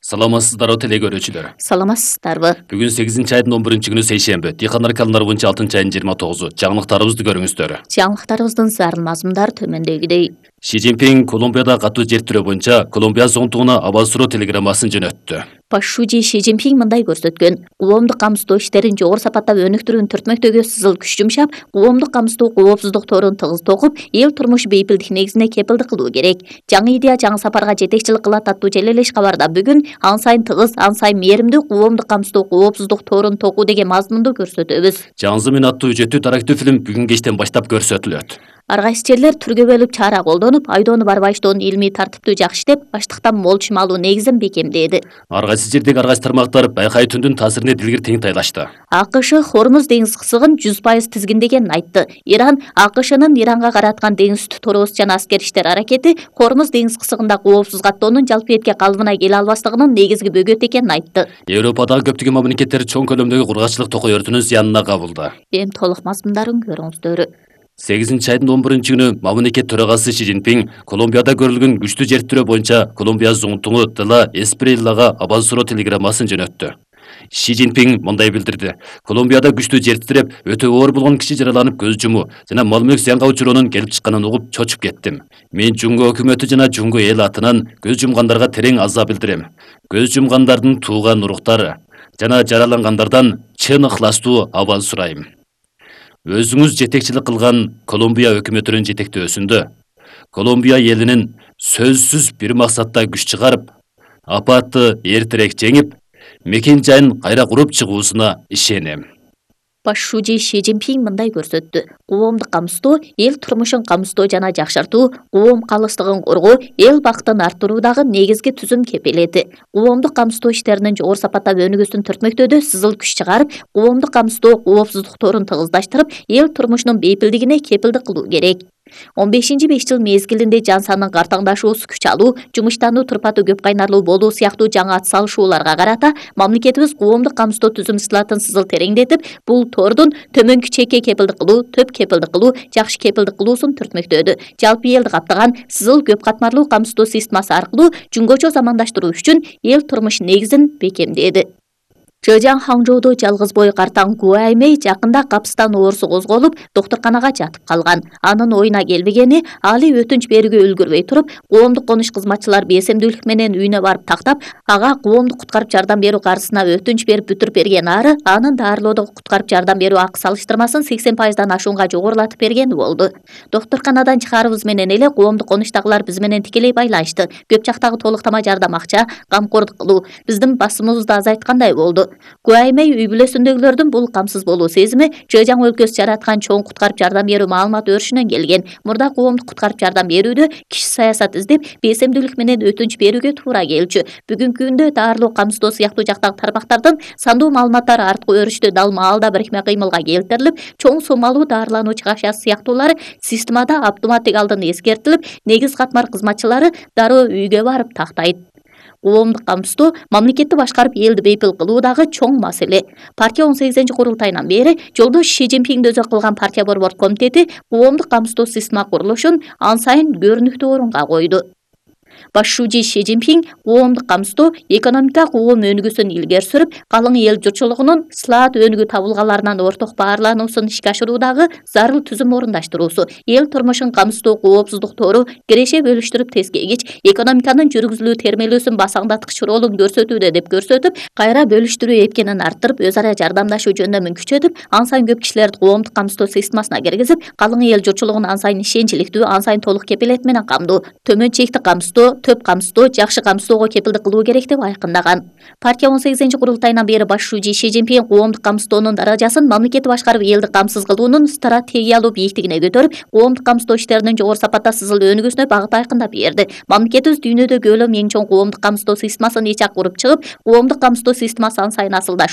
Саламатсыздарбы теле көрүүчүлөр. Саламатсыздарбы. Бүгүн 8-айдын 11-күнү сейшемби. Дыйкандар калымдар боюнча 6-айдын 29-у. Жаңылыктарыбызды көрүңүздөр. Жаңылыктарыбыздын зарыл мазмундары төмөндөгүдөй. Ши Цзиньпин Колумбияда катуу жер тирөө боюнча Колумбия зоңтугуна аба суроо телеграммасын жөнөттү. Башчы Ши Цзиньпин мындай көрсөткөн: коомдук камсыздоо иштерин жогору сапатта өнүктүрүүнү түртмөктөгү сызыл күч жумшап, коомдук камсыздоо коопсуздук торун тыгыз токуп, эл турмушу бейпилдик негизине кепилдик кылуу керек. Жаңы идея жаңы сапарга жетекчилик кылат аттуу желелеш кабарда бүгүн ан сайын тыгыз, ан сайын мээримдүү коомдук камсыздоо коопсуздук торун токуу деген мазмунду көрсөтөбүз. Жаңзымын аттуу үжөттүү тарактуу фильм бүгүн кечтен баштап көрсөтүлөт. Ар кайсы жерлер түргө бөлүп чара колдонуп, айдоону барбайчтоонун илмий тартиптүү жакшы иштеп, ачлыктан мол чым алуу негизин бекемдеди. Ар кайсы жердеги ар кайсы тармактар байкай түндүн таасирине дилгир тең тайлашты. АКШ Хормуз деңиз кысыгын 100% тизгиндегенин айтты. Иран АКШнын Иранга караткан деңиз үстү торос жана аскер иштер аракети Хормуз деңиз кысыгында коопсуз каттоонун жалпы этке калыбына келе албастыгынын негизги бөгөтү экенин айтты. Европадагы көптөгөн мамлекеттер чоң көлөмдөгү кургакчылык токой өртүнүн зыянына кабылды. Эми толук мазмундарын көрүңүздөр. 8-айдын 11-күнү мамлекет төрагасы Ши Цзиньпин Колумбияда көрүлгөн күчтүү жер тирөө боюнча Колумбия зоңтугу Дела Эсприллага аба суроо телеграммасын жөнөттү. Ши Цзиньпин мындай билдирди: Колумбияда күчтүү жер титиреп, өтө оор болгон киши жараланып көз жумуу жана мал мүлк зыянга учуроонун келип чыкканын угуп чочуп кеттим. Мен Жунго өкмөтү жана Жунго эл атынан көз жумгандарга терең аза билдирем. Көз жумгандардын тууган уруктары жана жаралангандардан чын ыхластуу абал сурайм. Өзүңүз жетекчилик кылган Колумбия өкмөтүнүн жетектөөсүндө Колумбия элинин сөзсүз бир максатта күч чыгарып, апатты эртерээк жеңип, мекен жайын кайра куруп чыгуусуна ишенем. Башчы Ши Цзиньпин мындай көрсөттү: коомдук камсыздоо эл турмушун камсыздоо жана жакшыртуу, коом калыстыгын коргоо, эл бактын арттыруудагы негизги түзүм кепилети. Коомдук камсыздоо иштеринин жогору сапатта өнүгүүсүн түртмөктөөдө сызыл күч чыгарып, коомдук камсыздоо коопсуздук торун тыгыздаштырып, эл турмушунун бейпилдигине кепилдик кылуу керек. 15-5 жыл мезгилинде жан санын картаңдашуусу, күч алуу, жумуштануу турпаты көп кайнарлуу болуу сыяктуу жаңы ат салышууларга карата мамлекетибиз коомдук камсыздоо түзүм сызылатын сызыл тереңдетип, бул тордун төмөнкү чекке кепилдик кылуу, төп кепилдик кылуу, жакшы кепилдик кылуусун түртмөктөдү. Жалпы элди каптаган сызыл көп катмарлуу камсыздоо системасы аркылуу жунгочо замандаштыруу үчүн эл турмуш негизин бекемдеди. Чжэжьян Ханчжоудо жалгыз бой картаң Гуаймэй жакында капыстан оорусу козголуп, доктурканага жатып калган. Анын оюна келбегени, али өтүнч берүүгө үлгүрбөй туруп, коомдук конуш кызматчылар бесемдүүлүк менен үйүнө барып тактап, ага коомдук куткарып жардам берүү каржысына өтүнч берип бүтүрүп берген ары, анын дарылоодогу куткарып жардам берүү акы салыштырмасын 80%дан ашуунга жогорулатып бергени болду. Доктурканадан чыгарыбыз менен эле коомдук конуштагылар биз менен тикелей байланышты. Көп жактагы толуктама жардам акча, камкордук кылуу биздин басымыбызды азайткандай болду. Гуаймэй үй бүлөсүндөгүлөрдүн бул камсыз болуу сезими Чжэжьян өлкөсү жараткан чоң куткарып жардам берүү маалымат өрүшүнөн келген. Мурда коомдук куткарып жардам берүүдө киши саясат издеп, бесемдүүлүк менен өтүнч берүүгө туура келчү. Бүгүнкү күндө дарылоо, камсыздоо сыяктуу жактагы тармактардын сандуу маалыматтары арткы өрүштү дал маалда бирикме кыймылга келтирилип, чоң сомалуу дарылануучу акчасы сыяктуулары системада автоматтик алдын эскертилип, негиз катмар кызматчылары дароо үйгө барып тактайт. Коомдук камсыздоо мамлекетти башкарып элди бейпил кылуу дагы чоң маселе. Партия 18-курултайынан бери жолдош Ши Цзиньпин дөзөк кылган партия борбор комитети коомдук камсыздоо система курулушун ан сайын көрүнүктүү орунга койду. Башчы Ши Цзиньпин коомдук камсыздоо экономика коом өнүгүүсүн илгери сүрүп, калың эл журтчулугунун слаат өнүгүү табылгаларынан орток баарлануусун ишке ашыруудагы зарыл түзүм орундаштыруусу, эл турмушун камсыздоо коопсуздук тору киреше бөлүштүрүп тескегич, экономиканын жүргүзүлүү термелүүсүн басаңдаткыч ролун көрсөтүүдө деп көрсөтүп, кайра бөлүштүрүү эпкенин арттырып, өз ара жардамдашуу жөндөмүн күчөтүп, ан сайын көп кишилерди коомдук камсыздоо системасына киргизип, калың эл журтчулугун ан сайын ишенчиликтүү, ан сайын толук кепилет менен камдоо, төмөн чекти камсыздоо, төп камсыздоо, жакшы камсыздоого кепилдик кылуу керек деп айкындаган. Партия 18-курултайынан бери башчы Ши Цзиньпин коомдук камсыздоонун даражасын мамлекетти башкарып элди камсыз кылуунун стратегиялуу бийиктигине көтөрүп, коомдук камсыздоо иштеринин жогору сапатта сызыл өнүгүүсүнө багыт айкындап берди. Мамлекетибиз дүйнөдө көлөм эң чоң коомдук камсыздоо системасын ич ак куруп чыгып, коомдук камсыздоо системасы ан сайын асылдашуу,